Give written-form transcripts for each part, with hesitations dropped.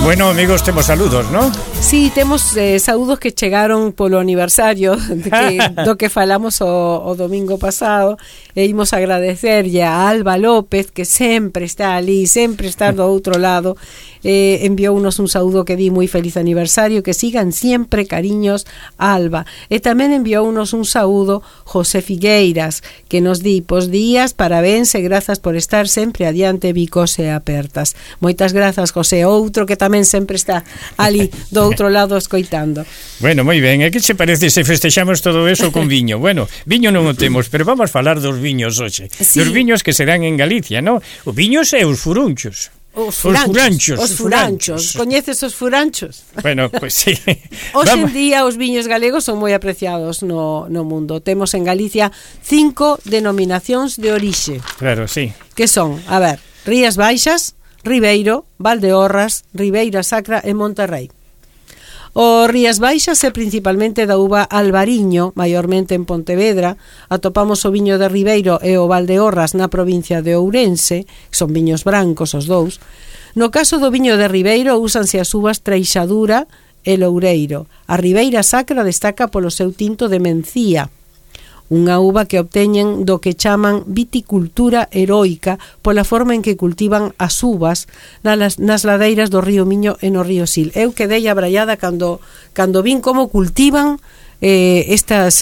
Bueno, amigos, temos saludos, non? Sí, temos saúdos que chegaron polo aniversario do que falamos o domingo pasado, e imos agradecerlle a Alba López, que sempre está ali, sempre está do outro lado. Enviounos un saúdo que di moi feliz aniversario, que sigan sempre, cariños, Alba. E tamén enviounos un saúdo José Figueiras, que nos di: pos días, parabéns e grazas por estar sempre adiante, vicos e apertas. Moitas grazas, José. Outro que tamén sempre está ali do outro lado escoitando. Bueno, moi ben. E que che parece se festexamos todo eso con viño? Bueno, viño non o temos, pero vamos falar dos viños hoxe. Sí. Dos viños que se dan en Galicia, non? Os viños e os furunchos. Os furanchos. Coñeces os furanchos? Bueno, pues sí. Hoxe en día os viños galegos son moi apreciados no mundo. Temos en Galicia 5 denominacións de orixe. Claro, sí. Que son, a ver, Rías Baixas, Ribeiro, Valdeorras, Ribeira Sacra e Monterrei. O Rías Baixas é principalmente da uva Albariño, maiormente en Pontevedra. Atopamos o viño de Ribeiro e o Valdeorras na provincia de Ourense, que son viños brancos os dous. No caso do viño de Ribeiro úsanse as uvas Treixadura e Loureiro. A Ribeira Sacra destaca polo seu tinto de Mencía, unha uva que obteñen do que chaman viticultura heroica pola forma en que cultivan as uvas nas ladeiras do río Miño e no río Sil. Eu quedei abraiada cando vin como cultivan estes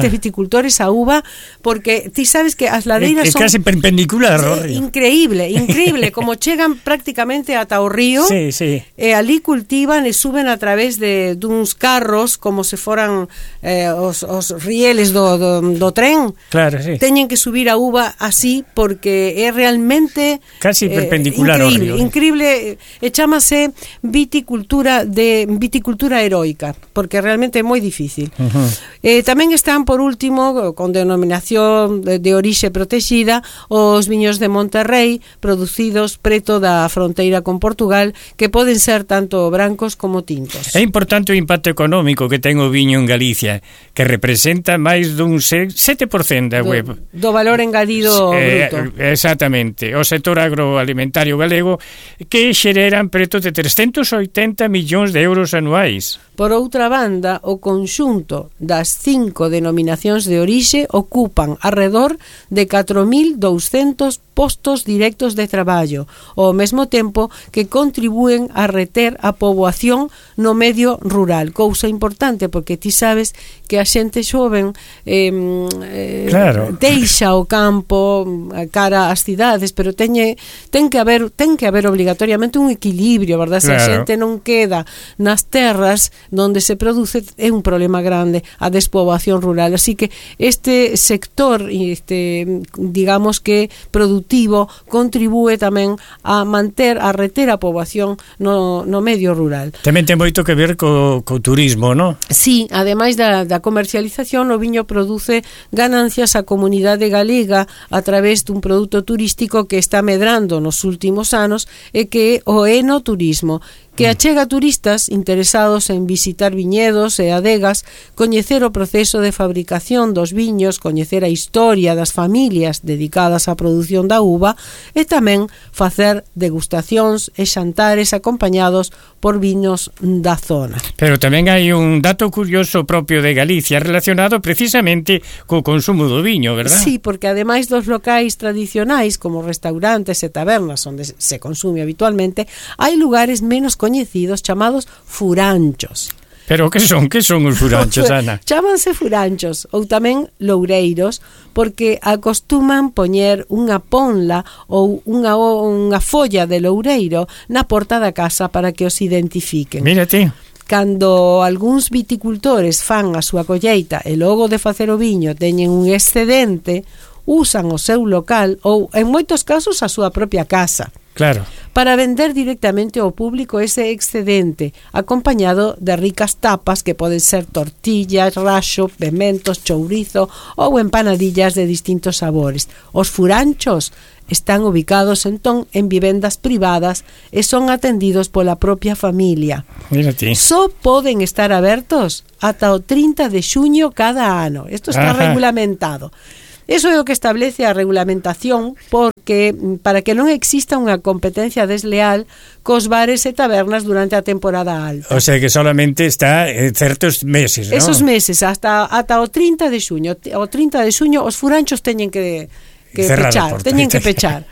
viticultores a uva, porque ti sabes que as ladeiras son casi perpendicular ao río. Increíble, como chegan prácticamente ata o río. Sí, sí. E ali cultivan e suben a través duns carros como se foran os rieles do tren. Claro, sí. Teñen que subir a uva así porque é realmente casi perpendicular ao río. Increíble, e chámase viticultura heroica, porque realmente é moi difícil. Uh-huh. Tamén están, por último, con denominación de orixe protexida, os viños de Monterrei, producidos preto da fronteira con Portugal, que poden ser tanto brancos como tintos. É importante o impacto económico que ten o viño en Galicia, que representa máis dun 7% da web. Do valor engadido bruto. Exactamente. O sector agroalimentario galego, que xereran preto de 380 millóns de euros anuais. Por outra banda, o conxunto das 5 denominacións de orixe ocupan arredor de 4.200 postos directos de traballo, ao mesmo tempo que contribúen a reter a poboación no medio rural. Cousa importante, porque ti sabes que a xente xoven claro, deixa o campo cara ás cidades, pero ten que haber obligatoriamente un equilibrio, verdad? Se a xente non queda nas terras donde se produce, é un problema grande a despoboación rural. Así que este sector, digamos que productivo, contribúe tamén a reter a poboación no medio rural. Tamén ten moito que ver co turismo, non? Sí, ademais da comercialización, o viño produce ganancias á comunidade galega a través dun produto turístico que está medrando nos últimos anos e que é o enoturismo, que achega turistas interesados en visitar viñedos e adegas, coñecer o proceso de fabricación dos viños, coñecer a historia das familias dedicadas á produción da uva e tamén facer degustacións e xantares acompañados por viños da zona. Pero tamén hai un dato curioso propio de Galicia relacionado precisamente co consumo do viño, verdad? Sí, porque ademais dos locais tradicionais como restaurantes e tabernas onde se consume habitualmente, hai lugares menos coñecidos chamados furanchos. Pero que son os furanchos, Ana? Chámanse furanchos ou tamén loureiros porque acostuman poñer unha ponla ou unha folla de loureiro na porta da casa para que os identifiquen. Mírate. Cando algúns viticultores fan a súa colleita e logo de facer o viño teñen un excedente, usan o seu local ou, en moitos casos, a súa propia casa. Claro. Para vender directamente ao público ese excedente, acompañado de ricas tapas que poden ser tortillas, raxo, pementos, chourizo ou empanadillas de distintos sabores. Os furanchos están ubicados entón en vivendas privadas e son atendidos pola propia familia. Mírate. Só poden estar abertos ata o 30 de xuño cada ano. Isto está regulamentado. Eso é o que establece a regulamentación porque para que non exista unha competencia desleal cos bares e tabernas durante a temporada alta. O sea que solamente está certos meses, ¿no? Esos meses, ata o 30 de xuño. O 30 de xuño os furanchos teñen que pechar, teñen que pechar.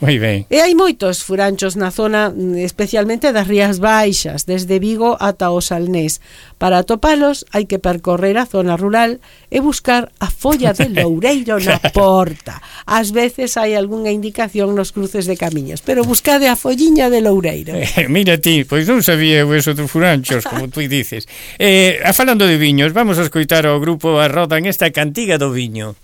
Moi ben. E hai moitos furanchos na zona, especialmente das Rías Baixas, desde Vigo ata o Salnés. Para atopalos hai que percorrer a zona rural e buscar a folla de loureiro na porta. Ás veces hai algunha indicación nos cruces de camiños, pero buscade a folliña de loureiro. Mira ti, pois non sabía eso dos furanchos, como tú dices. Falando de viños, vamos a escoitar ao grupo A Roda en esta cantiga do viño.